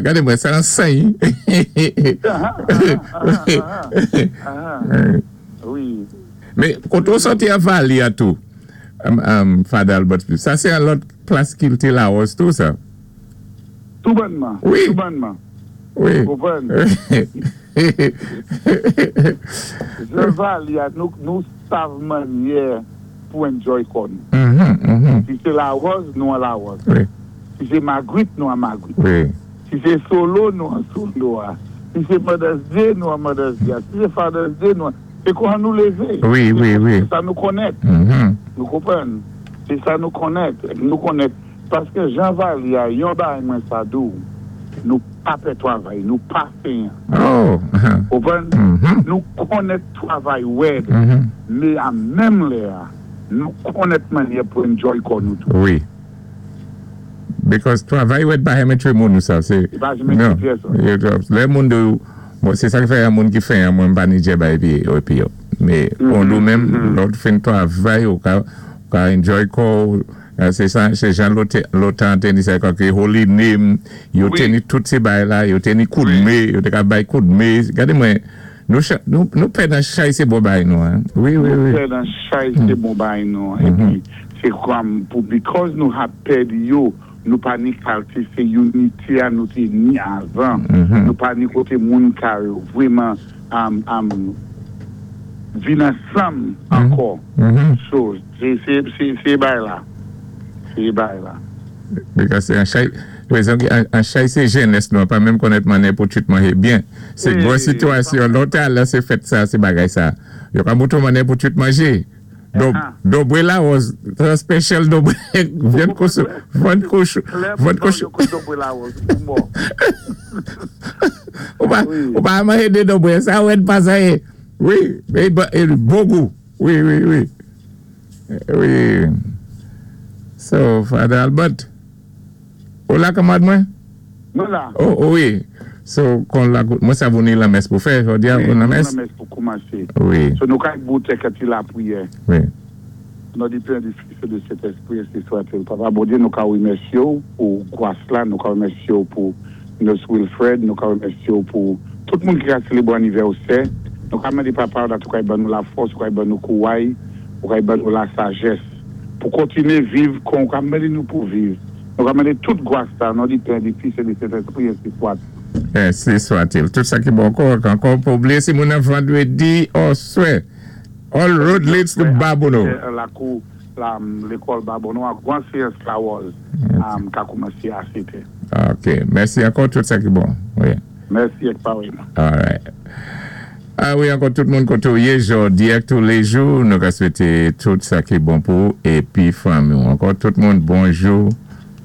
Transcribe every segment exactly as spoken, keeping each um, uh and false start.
Gadé mwen, sa an sen. Ah, ah, ah, ah, Wi. Mé, koté ou sòti a Vali a tou, um, um, Father Albert, sa sé an lòt plas ki té Lawòz tou, sa? Tou bònman. Wi. Tou bònman. Wi. Konpwann? Jan Vali a, nou, nou sav mannyè pou enjoy kò nou. Mhm, mhm. Si sé Lawòz, nou an Lawòz. Wi, Si sé Magrit, nou an Magrit. wi. Si sé solo, nou an solo. Ah. Si sé Mother's Day, nou an Mother's Day. Si sé Father's Day, nou an. Sé kon nou lévé. Wi, wi, wi. Sé sa nou konnèt. Mhm. Nou konpwann. Sé sa nou konnèt. Nou konnèt. Paské jan Vali a, yon bagay mwen sa di ou, nou pa pè twavay, nou pa fenyan. Oh. Konpwann? Mhm. Nou konnèt twavay wèd, Mhm. mé an menm lè, nou konnèt mannyè pou enjoy kò nou tou. Wi. Because twavay wèd pa renmen twé moun ou sa, sé. Pa renmen Non. twé pyès. Yo- Lè moun de, bon, sé sa ki fè yon moun ki fenyan, mwen pa ni djè bay pi, épi yo. Mé, on nou menm, lò ou fin twavay, ou ka, ou ka enjoy kò ou, euh, sé sa, sé jan lòtan té ni sa kwa ki Holy Name, yo Wi. té ni tout sé bay la, yo té ni koudmé, yo té ka bay koudmé. Gadé mwen, nou, cha- nou, nou pè nan chay sé bon bay nou, hein. Wi, wi, Nou wi. pè nan chay sé bon bay nou. Épi, sé kòm pou, because nou ha pèdi yo, nou pa ni kalité sé unity a nou té ni avan. Mhm. Nou pa ni koté moun ka vwèman am, am, vin ansanm ankò. Mhm. So, sé, sé, sé, sé bay la. Sé bay la. Because an chay, rezon ki an, an chay sé jènès nou, pa menm konnèt mannyè pou twit manjé byen. Sé Eh, gwo sitwasyon, lòt la sé fèt sa, sé bagay sa. Yo ka moutou mannyè pou twit manjé. Do, Ah. Dobwé Lawòz, trè spesyal dobwé, vyann kochon, vyann kochon, Klè vyann pou kochon. yo kon dobwé Lawòz, pou mò. Ou pa, Wi. ou pa manjé dé dobwé, sa wèd pa sa yé. Wi, é, é, bon gou. Wi, wi, wi. Wi. So, Father Albert, ou la kanmad mwen? Mwen la. Oh, oh wi. So, kon la, mwen sa vou ni lanmès pou fè, jòdi a, Wi, ou lanmès? Lanmès pou koumansé. Wi, So, nou kay boutè kati lapriyè. wi. Au nom du Père, du Fils et du Saint-Esprit, ainsi soit-il. Papa Bondyé, nou ka wimèsyé ou pou gwas la, nou ka wimèsyé ou pou Nurse Wilfred, nou ka wimèsyé ou pou tout moun ki ka sélébwé anivèsè. Nou ka mandé Papa, dat ou kay ban nou lafòs, ou kay ban nou kouway, ou kay ban nou lasajès, pou kontiné viv kon ou ka mandé nou pou viv. Nou ka mandé tout gwas la, au nom du Père, du Fils et du Saint-Esprit, ainsi soit. Ainsi soit-il. Tout sa ki bon ankò, ankò pou blié si moun nan vandwédi oswè. All road leads to Babonneau. Lakou, la, lékòl Babonneau, a gwan séyans Lawòz, um, ka koumansé a sétè. Ok, mèsi ankò tout sa ki bon. Wi. Mèsi ek parèyman. Alright. Ah wi, ankò tout moun koté ou yé jòdi ak tou lé jou, nou ka swété tout sa ki bon pou épi fanmi ou. Ankò tout moun, bonjou,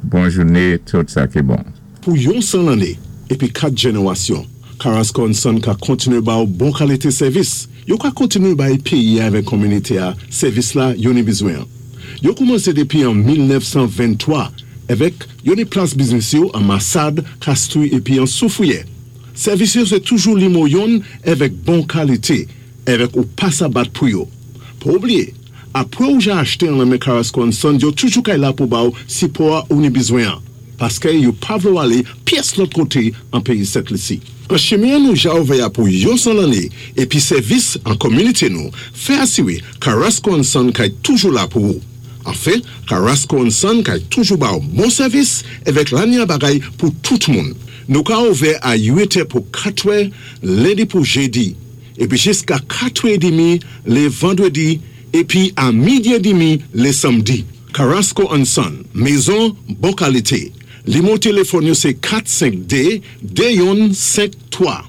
bon jouné, tout sa ki bon. Pou yon san lanné, épi kat jénéwasyon, Carrasco Son ka kontiné ba ou bon kalité sèvis. Yo ka kontiné bay péyi avèk kominité a sèvis la yo ni bizwen. Yo koumansé dépi an mil nèf san venntwa avèk yo ni plas biznis yo an Massade, Castries épi an Soufrière. Sèvis yo sé toujou nimo youn avèk bon kalité, avèk ou pa sa bat pou yo. Pa oublié, apwé ou ja achté an nan men Carrasco Son, yo toujou kay la pou ba ou sipò ou ni bizwen an. Paské yo pa vlé ou alé pyès lòt koté an péyi Sent Lisi. An chimen nou ja ouvè a pou yon san lanné épi sèvis an kominité nou, fè asiwé Carrasco Son kay toujou la pou ou. Anfen, Carrasco Son kay toujou ba ou bon sèvis avèk lanya bagay pou tout moun. Nou ka ouvè a uit è pou katwè, lendi pou jédi, épi jiska katwè édmi lé vandwédi, épi a midi édmi lé sanmdi. Carrasco Son, mézon bon kalité. Nimo téléfòn yo sé kat senk dé, dé youn senk twa.